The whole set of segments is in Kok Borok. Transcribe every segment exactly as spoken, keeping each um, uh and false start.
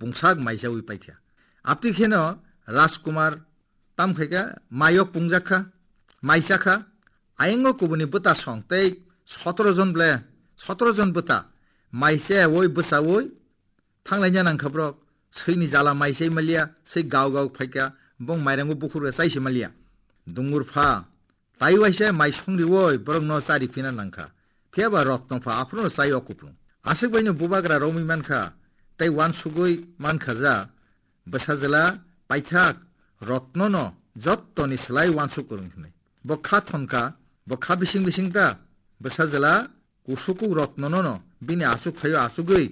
pungsak maisawi paikha. Abtwi kheno Rajkumar tam khaikha, maiyok pungjak kha, maisa kha. Ayango kubuni bwta song tei sotoro jon ble, sotoro jon bwta maisa oi bwsawi thanglaina nangkha borok. Swini jala maisai maliya, swi gao gao phaikha, bong mairango bukhurga chaisi maliya. Dungur pha, tai waisa mai songriwoi borokno chari phina nangkha. Phiyaba Rotno pha aphuru chai o kuplung. Aswk baino bubagra romwi mankha, tei wansugwi mankha ja, bwsajwla paithak Rotnono jottoni slai wansuk kwrwng hwnwi. Bo kha thonkha, bo kha bising bising ta, bwsajwla kusukuk Rotnono bini achuk phaio achugwi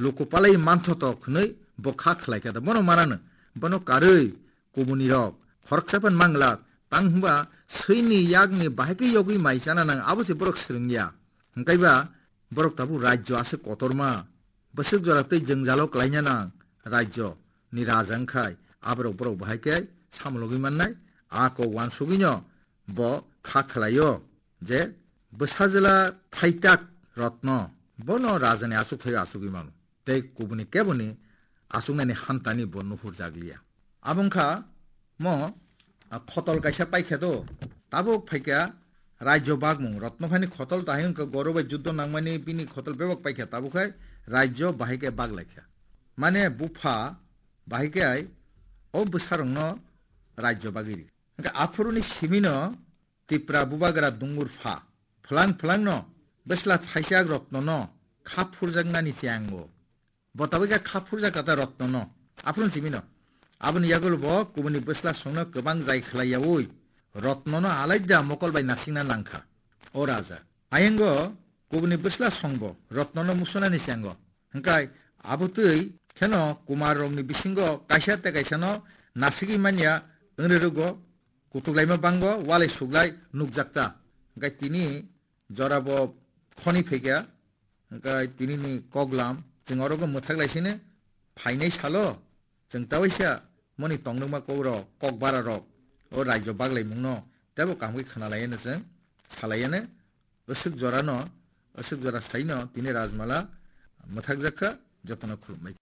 luku palai manthotok hwnwi bo kha khlaikha da. Bono manano, bono karwi kubunirok khoroksa phan manglak, tang hwnba swini yakni bahai khe yogwi mai chana nang, abo se borok swrwngya. Hwnkaiba borok tabuk rajyo aswk kotorma, bwswk jora tei jwngjalo klaina nang rajyo ni raja wngkhai, aborok borok bahai khe samologwi mannai, a kok wansugwino bo kha khlaio je bwsajwla thaitak Rotno bono rajani achuk phaio achugwi mano. Tei kubuni keboni achuknani hantani bo nuhur jakliya. Abo wngkha mo, a, khotol kaisa paikha do, tabuk phaikha rajyo bagmung. Rotno phani khotol tahai wngkha goro bai juddo nangmani bini khotol bebak paikha, tabuk hai rajyo bahai khe baglaikha. Mane bupha bahai khe hai o bwsarokno rajyo bagwi ri. Hwnkhe aphuruni simino Tipra bubagra dungur pha, phwlang phwlangno bwsla thaichak Rotnono kha phurjaknani cheyango. Bo tabuk khe kha phurjak kata Rotnono. Aphuru simino. Aboni yagulo bo kubuni bwsla songno kwbang jai khlai yaui Rotnono alaida mokol bai nasingna nangkha. O raja. Ayango kubuni bwsla songbo Rotnono musunani cheyango. Hwnkhe abo twi kheno Kumar rokni bisingo kaisa tei kaisano nasigwi manya wngri rwgo. Kutuk laima bango, walai suklai nukjakta. Hwnkhe tini jora bo khoni phaikha, hwnkhe tini ni koklam, chwng oro go mwthak lai sini phainai salo, chwng ta waisa moni tongnokma kok rok, kok bara rok, o rajyo baglaimung no tebo kaham khe khna lai no chwng salai no, aswk jora no, aswk jora sai no tini Rajmala mwthak jak kha, joto no khulum bai.